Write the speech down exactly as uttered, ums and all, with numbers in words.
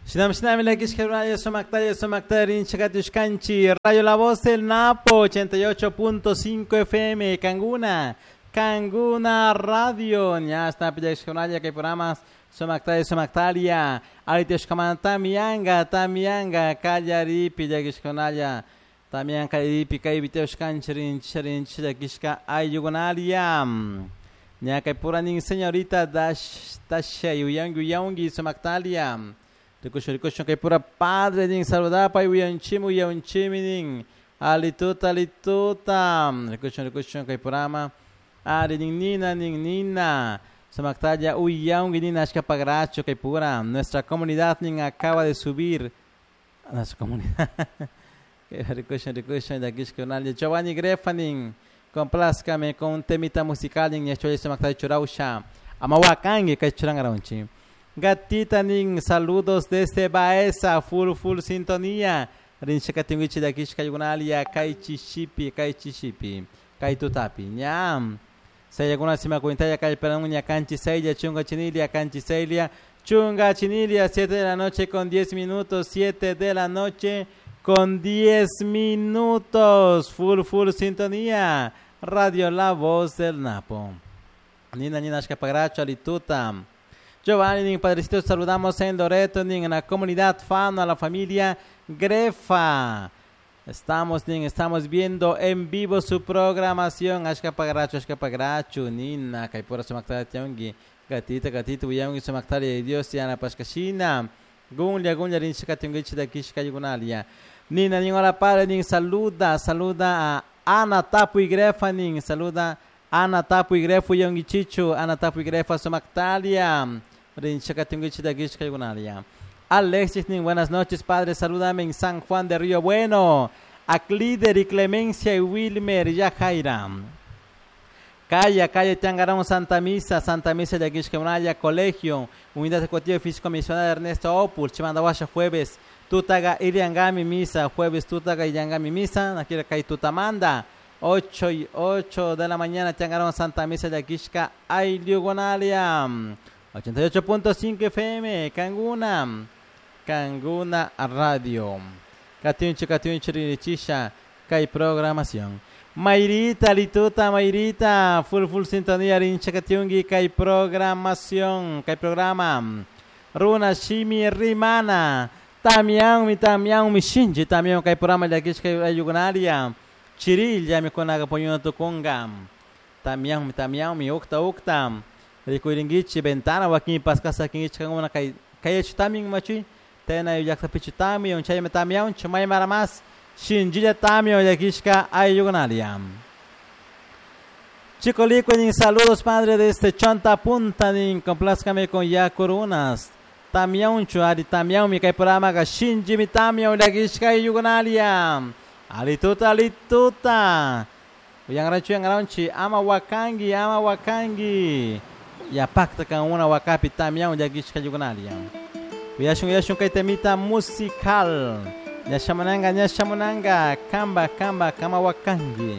Shinam shinam llakishka radio sumaktalla sumaktalla rinchikatushkanchik Radio La Voz del Napo ochenta y ocho punto cinco F M Canguna Canguna Radio ña está pillashkunalla kay programas sumaktalla sumaktalla aritishkamanta tamianga tamianga kallaripi llakishkunalla tamian kallaripi kay viteushkanchik rinchik rinchik llakishka ayllukunalia ña kay puranin señorita dash dasha yuyangi yuyangi sumaktalia Rikushun, rikushun, kay pura padre nin saludapa uyanchimi uyanchimi nin alituta alituta rikushun, rikushun, kay purama ari nin nina nin nina sumaktalla uyangi nina ashka pagracho kay pura nuestra comunidad nin acaba de subir a nuestra comunidad rikushun, rikushun, llakishkunalla Giovanni Grefa nin complázcame con un temita musical nin ñacholla sumaktalla churausha amawakangi kay churangaronchi Gatita nin saludos desde Baeza, full full sintonía. Rinchakatinguichi de aquí shkayunalia, kai chishipi, kai chishipi, kai tutapi. Ñam. Seyaguna sima cuintaya kai peranuña canchi seilia, chunga chinilia, canchi seilia, chunga chinilia, siete de la noche con diez minutos, siete de la noche con diez minutos. Full full sintonía. Radio La Voz del Napo. Nina nina shkapagracho alituta. Giovanni, nin padrecito, saludamos en Loreto, nin en la comunidad Fano, a la familia Grefa. Estamos, nin, estamos viendo en vivo su programación. Ashka pagracho, ashka pagracho, nina, kaipura sumaktara tiangi, gatita, gatita, uyangi sumaktara de Dios, yana pashkashina, gunlia, gunlia, rinchika tiangichi de kishka yugunalia. Nina, nin, hola padre, nin, saluda, saluda a Ana Tapu y Grefa, nin, saluda Ana Tapu y Grefa, uyangi chichu, Ana Tapu y Grefa sumaktalia. Alexis, buenas noches, padre. Salúdame en San Juan de Río Bueno. A Clider y Clemencia y Wilmer Yajaira. Calla, calle Tangarón, Santa Misa, Santa Misa de Aguishkeunaya, Colegio, Unidad Ejecutiva Físico Misional Ernesto Opul, Chimandahuasha, jueves, Tutaga, Iriangami Misa, jueves, Tutaga, Iriangami Misa, Nakira Kai Tutamanda, ocho y ocho de la mañana, Tangarón, Santa Misa de Aguishka, Ayliugonalia. ochenta y ocho punto cinco F M, Canguna, Canguna Radio. Catiunchi, Catiunchi, Rinichisha, Kai programación. Mayrita, Lituta, Mayrita, full, full sintonía, Rincha, Catiungi, Kai programación, Kai programa. Runa, Shimi, Rimana, Tamián, mi Tamián, mi Shinji, Tamián, Kai programa, Yakish, Kai Ayugunaria, Chirilla, mi Konaga, Poñuno, Tukunga, Tamián, mi Tamián, mi Ukta, Ukta. Rikuiringichi, ventana, wakin pascasa, kingichi, kanguna, kai, kai chutamin machi, tena yakta pichutami, un chay metamion, chumay maramas, shinjilla tamio, yakishka, ayugunalia. Chico Licuenin, saludos padre desde Chonta Punta, nin, complázcame con yacurunas. Tamion, chuari, tamion, mi kai programa, shinji mi tamion, yakishka, ayugunalia. Alituta, alituta. Uyangrachu, yangraunchi, ama wakangi, ama wakangi. Ya pacta kan una wakapi tamian yakishka yugunalia. Uyashun uyashun kay temita musical. Nyashamunanga nyashamunanga kamba kamba kama wakangi.